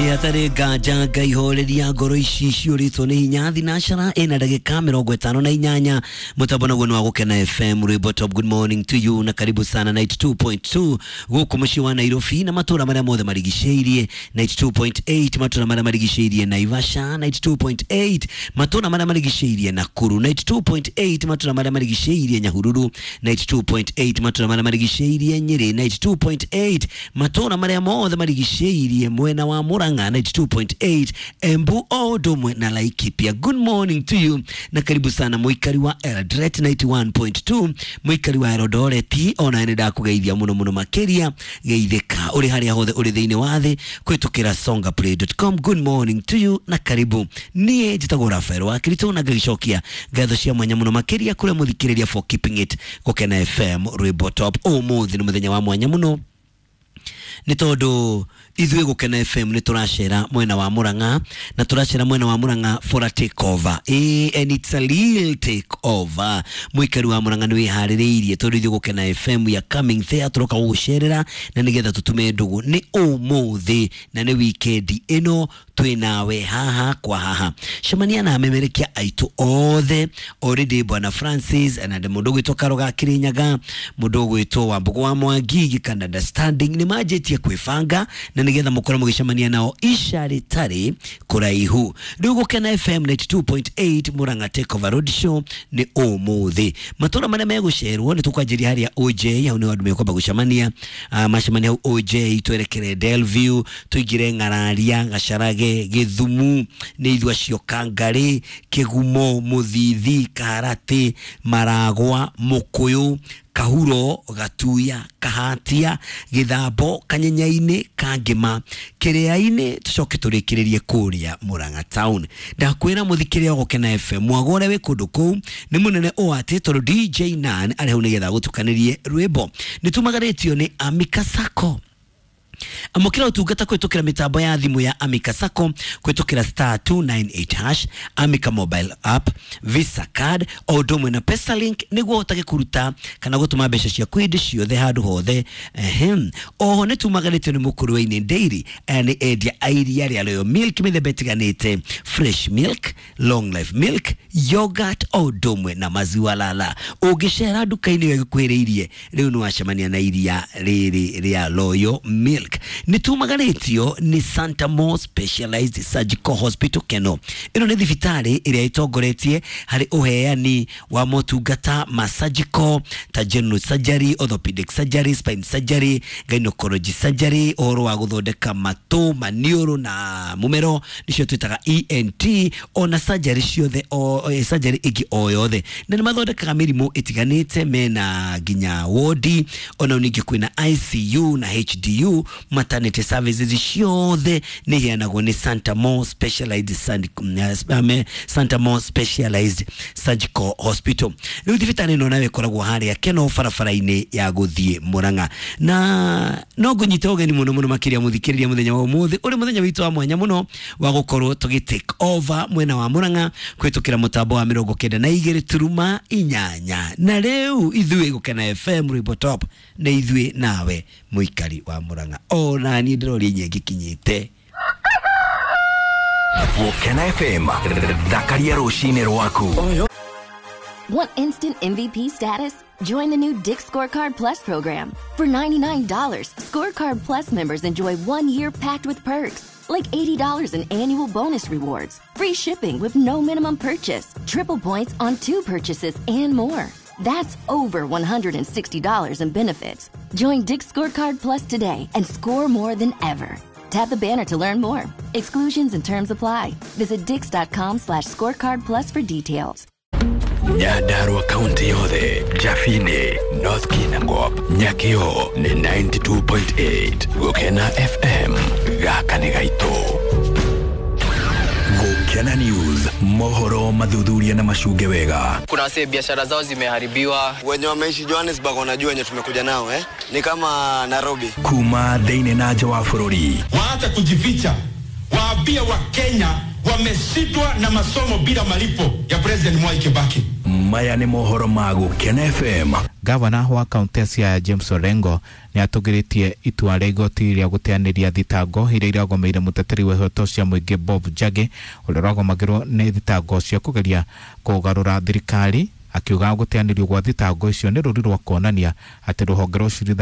Hatarĩ nganja Ngai horeria ngoro ici ciũrĩtwo nĩ hinya. Thinacara ĩna ndagĩka 58, mũtambo naguo nĩ wa Gũkena FM, rwĩmbo top. Good morning to you na karibu sana 92.2 gũkũ mũciĩ wa Nairobi na matũra marĩa mothe marigicĩirie, 92.8 matũra marĩa marigicĩirie Naivasha, 92.8 matũra marĩa marigicĩirie Nakuru, 92.8 matũra marĩa marigicĩirie Nyahururu, 92.8 matũra marĩa marigicĩirie Nyĩrĩ, 92.8 matũra marĩa mothe marigicĩirie mwena wa Murang'a, 92.8 Embu o ũndũ ũmwe na Laikipia. Good morning to you na karibu sana mũikari wa Eldoret 91.2, mũikari wa Eldoret, ona nĩ ndakũgeithia mũno mũno makĩria. Geithĩka ũrĩ harĩa hothe ũrĩ thĩinĩ wa thĩ kũhĩtũkĩra songaplay.com. Good morning to you na karibu. Niĩ njĩtagwo Rafael wa Kirito na ngagĩcokia ngatho cia mwanya mũno makĩria kũrĩa mũthikĩrĩria for keeping it Gũkena FM, rwĩmbo top. Ũmũthĩ nĩ mũthenya wa mwanya mũno nĩ tondũ ithuĩ Gũkena FM nĩ tũracera mwena wa Murang'a, na tũracera mwena wa Murang'a for a take over. And it's a real take over. Mũikari wa Murang'a nĩ wĩharĩrĩirie tondũ ithuĩ Gũkena FM we are coming there, tũroka gũgũcerera na nĩgetha tũtume ndũgũ. Nĩ ũmũthĩ na nĩ wikendi ĩno twĩ nawe haha kwa haha. Cemania na amemerekia aitũ othe already, bwana Francis na mũndũ ũgwĩtwo Karoga Kirinyaga, mũndũ ũgwĩtwo Wambũgũ wa Mwangi, Gikanda understanding nĩ manjĩtie kwĩbanga na nĩgetha mũkorwo mũgĩcemania nao ica rĩtarĩ kũraihu. Rĩu Gũkena FM 92.8 Murang'a Take Over Road Show nĩ ũmũthĩ. Matũra marĩa megũcerwo nĩ tũkwanjĩria harĩa OJ, hau nĩho andũ mekwamba gũcemania. Macemania hau OJ, twerekere Delview, tũingĩre Ng'araria, Gacarage, Gĩthumu, nĩ ithuĩ acio, Kangarĩ, Kĩgumo, Mũthithi, Kaharatĩ, Maragwa, Mũkũyũ, Kahuro, Gatuya, Kahatia, Gĩthambo, Kanyenyainĩ, Kangĩma, Kĩrĩa-inĩ, tũcoke tũrĩkĩrĩrie kũrĩa Murang'a town. Ndakwĩra mũthikĩrĩria wa Gũkena FM, mwago ũrĩa wĩ kũndũ kũu nĩ mũnene ũũ atĩ tondũ DJ Nan arĩ hau nĩgetha gũtukanĩrie rwĩmbo. Nĩ tumagarĩtio nĩ Amika Sacco. Amũkĩra ũtungata kũhĩtũkĩra mĩtambo ya thimũ ya Amika Sacco kũhĩtũkĩra *298#, Amika mobile app, Visa card o ũndũ ũmwe na Pesalink nĩguo ũhotage kũruta kana gũtũma mbeca ciaku hĩndĩ ciothe handũ hothe. Ehem, oho nĩ tumagarĩtio nĩ Mũkũrwe-inĩ Dairy. Aya nĩ endia a iria rĩa Royal Milk mĩthemba ĩtiganĩte, fresh milk, long life milk, yogurt o ũndũ ũmwe na maziwa lala. Ũngĩcera nduka-inĩ ĩyo ĩgũkuhĩrĩirie rĩu nĩ wacemania na iria rĩrĩ rĩa Royal Milk. Nĩ tumagarĩtio nĩ Santa Mo Specialized Surgical Hospital Keno. Ĩno nĩ thibitarĩ ĩrĩa ĩtongoretie harĩ ũheani wa motungata ma surgical ta general surgery, orthopedic surgery, spine surgery, gynecology surgery, ũhoro wa gũthondeka matũ, maniũrũ na mũmero nĩcio twĩtaga ENT, ona surgery ciothe o surgery ĩngĩ o yothe, na nĩ mathondekaga mĩrimũ ĩtiganĩte. Mena nginya wodi, ona ningĩ kwĩna ICU na HDU. Maternity services ciothe nĩ iheanagwo nĩ Santa Mo Specialized Surgical Hospital. Rĩu thibitarĩ ĩno nayo ĩkoragwo harĩa Keno barabara-inĩ ya gũthiĩ Murang'a, na no ngũnyite ũgeni mũno mũno makĩria mũthikĩrĩria mũthenya wa ũmũthĩ ũrĩ mũthenya witũ wa mwanya mũno wa gũkorwo tũgĩ take over mwena wa Murang'a kũhĩtũkĩra mũtambo wa 92.8. Na rĩu ithuĩ Gũkena FM rwĩmbo top nĩ ithuĩ nawe mũikari wa Murang'a, ona niĩ ndĩroria inya ngĩkinyĩte. Gũkena FM, thakaria rũcinĩ rwaku. Want instant MVP status? Join the new Dick's Scorecard Plus program. For $99, Scorecard Plus members enjoy 1 year packed with perks, like $80 in annual bonus rewards, free shipping with no minimum purchase, triple points on two purchases, and more. That's over $160 in benefits. Join Dick's Scorecard Plus today and score more than ever. Tap the banner to learn more. Exclusions and terms apply. Visit dicks.com/scorecard plus for details. Nyandarua kaunti yothe, Jafine, North Kinangop, Nyakio nĩ 92.8 Gũkena FM, gaka nĩ gaitũ. Gũkena News, mohoro mathuthuria na macunge wega. Kuna wasee biashara zao zimeharibiwa. Wenye wameishi Johannesburg wanajua wenye tumekuja nao, eh? Ni kama Nairobi. Kuma thĩinĩ na nja wa bũrũri. Waacha kujificha, waambie Wakenya wameshindwa na masomo bila malipo ya President Mwai Kibaki. Maya nĩ mohoro ma Gũkena FM. Gavana wa kaunti ya Siaya James Orengo nĩ atũgĩrĩtie itua rĩa igoti rĩa gũteanĩria thitango iria iragomeire mũteteri wa ihoto cia mũingĩ Bob Njagi, ũrĩa ũragomagĩrwo nĩ thitango cia kũgeria kũgarũra thirikari, akiuga gũteanĩrio gwa thitango icio nĩ rũri rwa kuonania atĩ rũhonge rwa ũcirithania